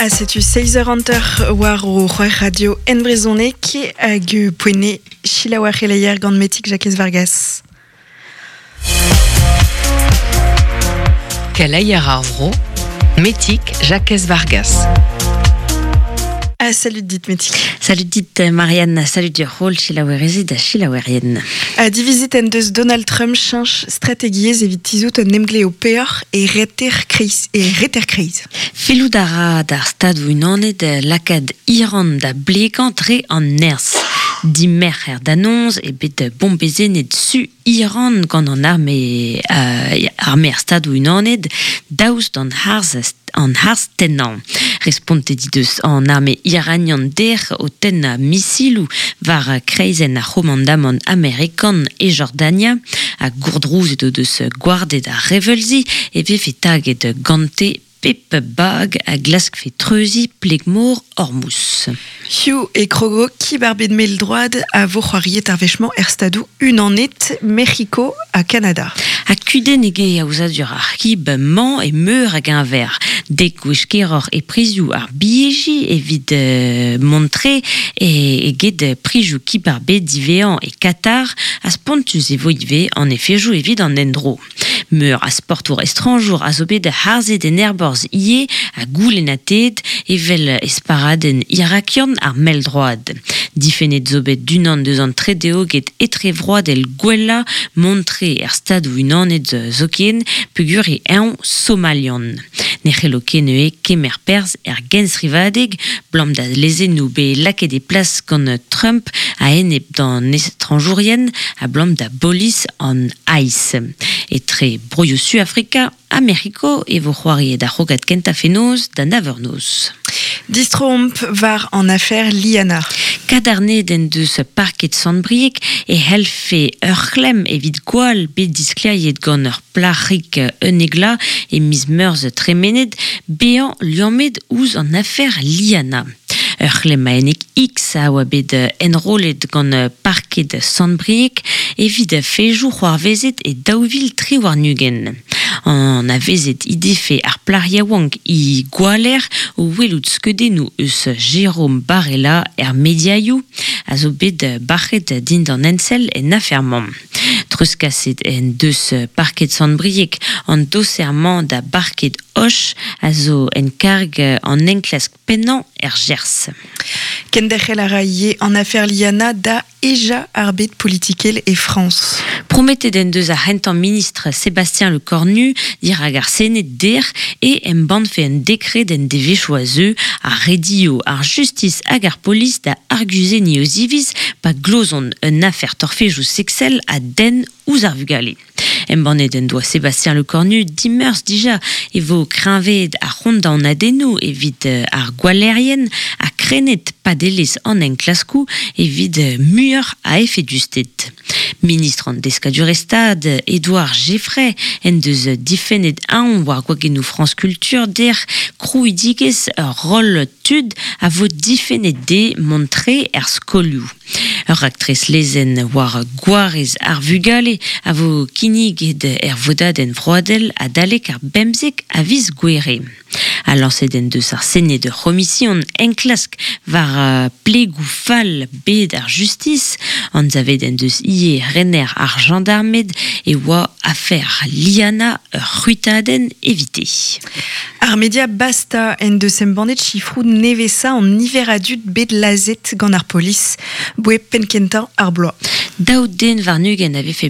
Ha setu seizh eur hanter war o c'hwec'h radio en brezhoneg hag poene selaou ar c'heleier gant Metig Jakez Vargas. Keleier ar vro, Metig Jakez Vargas. Ah, salut dit Metig. Salut dit Marianne, salut dir holl selaouerezed ha selaouerien. Ha divizet en deus Donald Trump cheñch strategiezh evit tizhout un emglev peoc'h e reter kreiz e reter kreiz. Fellout a ra d'ar Stadoù-Unanet lakaat Iran da blegañ dre an nerzh. Dimerc'her da noz eo bet bombezennet su Iran gant an arme, arme ar Stadoù-Unanet daoust d'an harz an harz-tennañ. Respontet he deus an arme iranian dec'h o tennañ misiloù war kreizenn ar c'homandamant amerikan e Jordania ha gourdrouzet o deus gwarded ar reveulzi e vefe taget gante pep bag a glaskfe treuziñ pleg-mor Hormuz. Hiziv e krogo Kib ar bed mell-droad a vo c'hoariet ar wech-mañ er Stadoù Unanet, Mec'hiko ha Kanada. Ha kudenn eo aozadur ar c'hib-mañ e meur a geñver. Dek gwech keroc'h e prizioù ar bilheji evit mont tre eget prizioù kib ar bed diwezhañ e Katar ha spontus e vo ivez an efejoù evit an endro. Meur a sportour estrañjour a zo bet harzet en aerborzh ivez ha goulennatet evel esparadenn irakian ar mell-droad. Difennet zo bet d'unan deus an tredeoged etrevroadel gwellañ mont-tre er Stadoù-Unanet zoken peogwir eo eñ somalian. Ne c'hello ket neuze kemer perzh er genstrivadeg 'blam da lezennoù bet lakaet e plas gant Trump a-enep d'an estrañjourien ablam da bolis an ICE. Etre broioù Suafrika ha Mec'hiko e vo c'hoariet ar c'hrogad kentañ fenoz da nav eur noz. Distroomp war an afer Liana. Kadarnaet en deus parked Sant-Brieg e c'hellfe ur c'hlemm evit gwall bet disklêriet gant ur plac'hig un egla e miz Meurzh tremenet bezañ liammet ouzh an afer Liana. Ur c'hlemmaennig X a oa bet enrollet gant parked Sant-Brieg evit fejoù c'hoarvezet e 2023. Anavezet he defe ar plac'h yaouank he gwaller o welout skeudennoù eus Jérôme Barella er mediaioù a zo bet bac'het dindan ensell en afer-mañ. Treuzkaset en deus parked Sant-Brieg an doser-mañ da barked Hoche a zo en karg an enklask pennañ er Gers. Kenderc'hel a ra ivez an afer Liana da hejañ ar bed politikel e Frañs. Prometet en deus ar c'hentañ ministr Sébastien Lecornu dirak ar Sened dec'h e embannfe un dekred en devezhioù a zeu a redio ar justis hag ar polis da arguzenniñ o ziviz pa glozont un afer torfejoù seksel a denn ouzh ar vugale. Embannet en doa Sébastien Lecornu dimeurzh dija e vo kreñvaet ar c'hondaonadennoù evit ar gwallerien ha krennet padelezh an enklaskoù evit muioc'h a efedusted. Ministr an Deskadurezh Stad, Edouard Geffray, en deus difennet aon war gwagennoù France Culture dec'h krouidigezh ur roll tud a vo difennet dezhe mont tre er skolioù. Ur raktres lezenn war gwarez ar vugale a vo kinniget er vodadenn vroadel adalek ar bemzek a viz Gouere. Ha lañset en deus ar Sened ur c'homision enklask war plegoù fall bed ar justis. Anzavet en deus ivez rener ar jañdarmed e oa afer Liana ur c'hwitadenn evite. Ar media Basta en deus embannet sifroù nevesañ an niver a dud bet lazhet gant ar polis boe penn-kentañ ar bloaz. Daou den warn-ugent a vefe